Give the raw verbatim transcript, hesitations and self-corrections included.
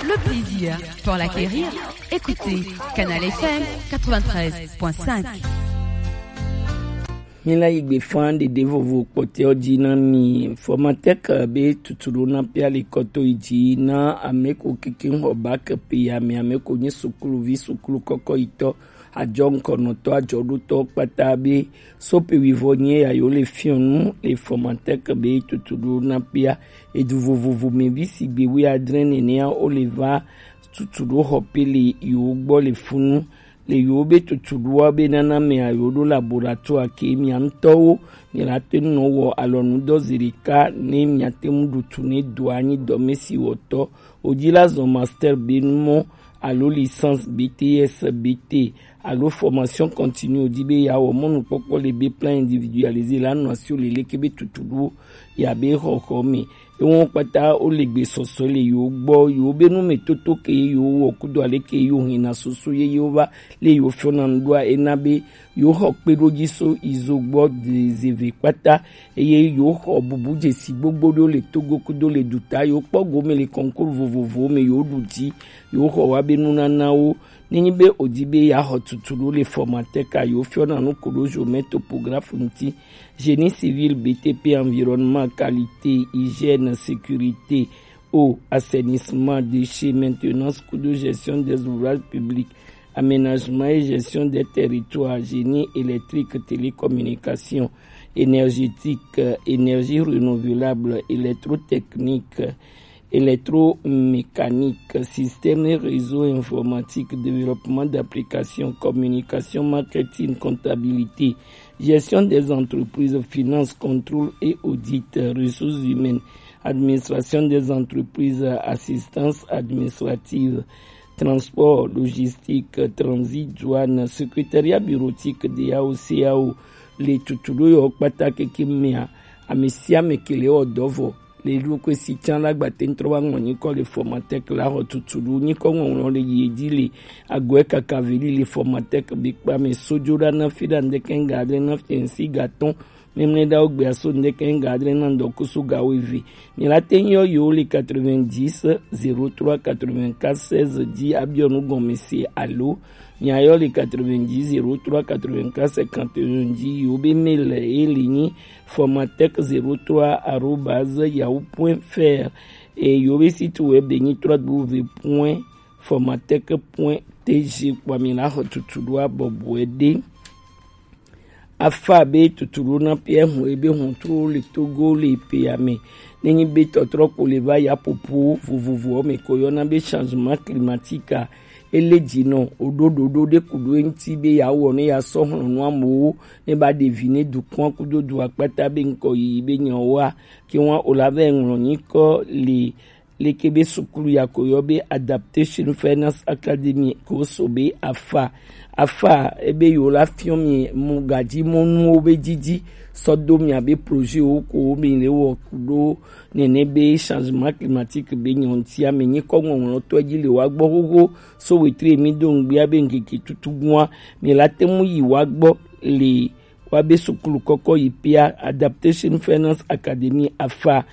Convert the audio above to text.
Le plaisir pour l'acquérir, écoutez Canal F M quatre-vingt-treize point cinq. Míla yi gbe fã ɖeɖe vovo kpɔtɛwo ji na mi. Formatec be tutu ɖo na pia le kɔto yi ji na ame ko keke xɔ bac pe ya me, ame ko nyi sukuluvi, sukulu kɔkɔ yitɔ, ajɔ ŋkɔnɔtɔ, ajɔ ɖotɔ kpata be sope wivɔ nyi ya yo le fiɔnu le Formatec be tutu ɖo na pia. Edu vovovo me vi si gbe wi adre nenea o le va tutu ɖo xɔ pe le yo gbɔ le funu. Le yewo be tutuɖoa be nana mea yewo ɖo laboratoire ke mia ŋutɔwo mi la te nɔ wɔ alɔnudɔ zi ɖeka ne mia te ŋu ɖu tu ne doa nyi dɔme si wɔtɔ wodzi la zɔ master be numɔ alo licence B T S, B T alo formation continue wodzi be yeawɔ mɔnukpɔkpɔ le be plan individualisé la nɔ asi wo le leke be tutuɖo ya be xɔxɔ me. Ewo kpata wo le gbe sɔsɔ le yewo gbɔ, yewo be nu me toto ke yewo wɔ kudo ale ke yewo hina susu ye yewo va le yewo fiɔna nu ɖoa, ena be yewo xɔ kpeɖodzi so izo gbɔ de zeve kpata, eye yewo xɔ bubu dzesi gbogbo ɖewo le Togo kudo le duta, yewo kpɔ gome le concours vovovowo me, yewo ɖu dzi, yewo xɔ wa be nunanawo. Nenyi be wòdi be yeaxɔ tutu ɖo le Formatec a, yewo fiɔna nu ku ɖo géomètre topographe ŋuti, génie civil, B T P, environnement, qualité, hygiène, sécurité, eau, assainissement, déchets, maintenance, kudo gestion des ouvrages publics, aménagement et gestion des territoires, génie électrique, télécommunication, énergétique, euh, énergie renouvelable, électrotechnique, électromécanique, système et réseau informatique, développement d'applications, communication, marketing, comptabilité, gestion des entreprises, finance, contrôle et audit, ressources humaines, administration des entreprises, assistance administrative, transport, logistique, transit, douane, secrétariat bureautique de yao C A O. Le tutu ɖo yɔ kpata keke mea, ame sia ame ke le wɔ dɔ vɔ. Le ɖo kwe si can la gba te ŋtrɔ wa ŋlɔ nyikɔ le Formatec la xɔ tutu ɖo nyikɔ ŋɔŋlɔ le yi dzi le agɔe kaka veli le Formatec be kpa me sojo ɖa na fi ɖa ŋdeke ŋga adre na fi ŋsi ga tɔn. Memle ɖa wo gbea so ŋdeke ŋga adre na ŋdɔkusu ga wo eve. Mi la te nyɔ yo le quatre-vingt-dix zéro trois quatre-vingt-quatre seize dzi abiɔ nu gɔme se alo mi ayɔ le quatre-vingt-dix zéro trois quatre-vingt-quatre cinquante et un dzi yo be mail e le nyi formatec zéro trois arobase yahoo point F R. E yo be site web de nyi trois W point formatec point T G kpɔ mi la xɔ tutu ɖo abɔbɔe ɖe. Afa be tutu ɖo na Pierre hun ebe hun tro le Togo le pe ame. Nenyi be tɔtrɔ ko le va ya popo vovovo me ko yɔna be changement climatique a. Ele dzi nɔ o ɖo ɖoɖo ɖe ku ɖo eŋuti be ya wɔ ne ya sɔ hlɔnu amewo ne ba ɖevi ne dukɔa kudo du akpata be ŋkɔ yiyi be nyawoa ke wa o la vɛ ŋlɔ nyikɔ le leke be sukulu ya ko yɔ be Adaptation Finance Academy ko so be afa afa ebe yo la fiɔ mi mu gadzi mɔnuwo be didi sɔ do mia be projet wo ko mi le wɔ ku ɖo nene be changement climatique be nyɔntia mi nyikɔ ŋɔŋlɔtɔ dzi le wa gbɔ xoxo so wetri mi do ŋgbia be ŋkeke tutu gua mi la te mu yi wa gbɔ le wa be sukulu kɔkɔ yi pia Adaptation Finance Academy afa